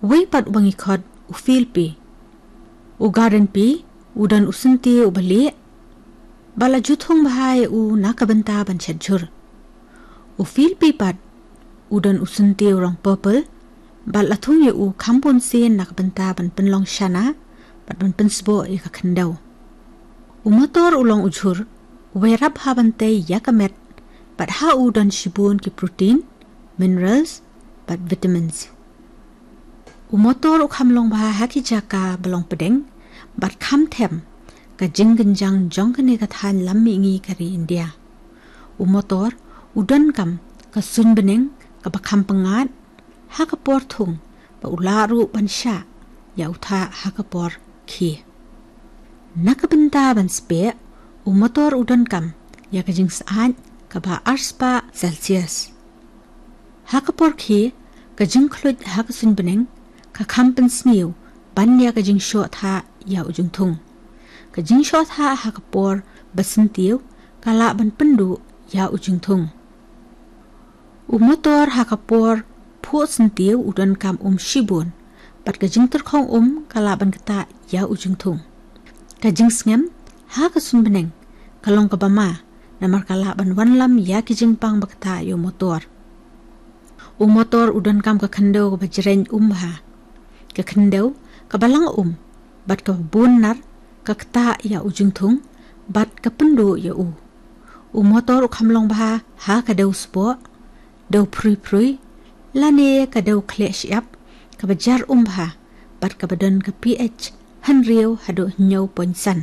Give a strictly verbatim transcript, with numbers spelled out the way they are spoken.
Uwei pat uba ngi khot u Phil Pye. U Garden Pye u don u syntiew uba lieh, bad la ju thung bha ïa u na ka bynta ban shet jhur. U Phil Pye pat u don u syntiew rong purple, bad la thung ïa u kham bun sien na ka bynta ban pynlong shana bad ban pynsboh ïa ka khyndew. U motor u long u jhur uba ïarap ha ban tei ïa ka met, bad ha u don shibun ki protein, minerals bad vitamins. U motor u kham long bha ha ki jaka ba long pdeng bad kham them ka jingkynjang jong kane ka thaiñ lam mihngi ka ri India. U motor u donkam ka suiñ bneng kaba kham pyngngad ha ka por thung, bad u lah ruh ban shah ïa u thah ha ka por khie. Na ka bynta ban speh, u motor u donkam ïa ka jingsyaid kaba arspah Celsius. Ha ka por khie, ka jingkhluit ha ka suiñ bneng ka kham pynsniew ban ïa ka jingshoh thah ïa u jingthung. Ka jingshoh thah ha ka por ba syntiew ka lah ban pynduh ïa u jingthung. U motor ha ka por phuh syntiew u donkam um shibun, bad ka jingtyrkhong um ka lah ban ktah ïa u jingthung. Ka jingsngem ha ka suiñ bneng ka long kaba ma, namar ka lah ban wanlam ïa ki jingpang ba ktah ïa u motor. U motor u donkam ka khyndew kaba jreng um bha. Ka khyndew kaba lang um bad kaba bun nar ka ktah ïa u jingthung bad ka pynduh ïa u. U motor u kham long bha ha ka dew sboh, dew phrui phrui, lane ka dew khleh shyiap kaba jar um bha bad kaba don ka pH hynriew haduh hynñiew point san.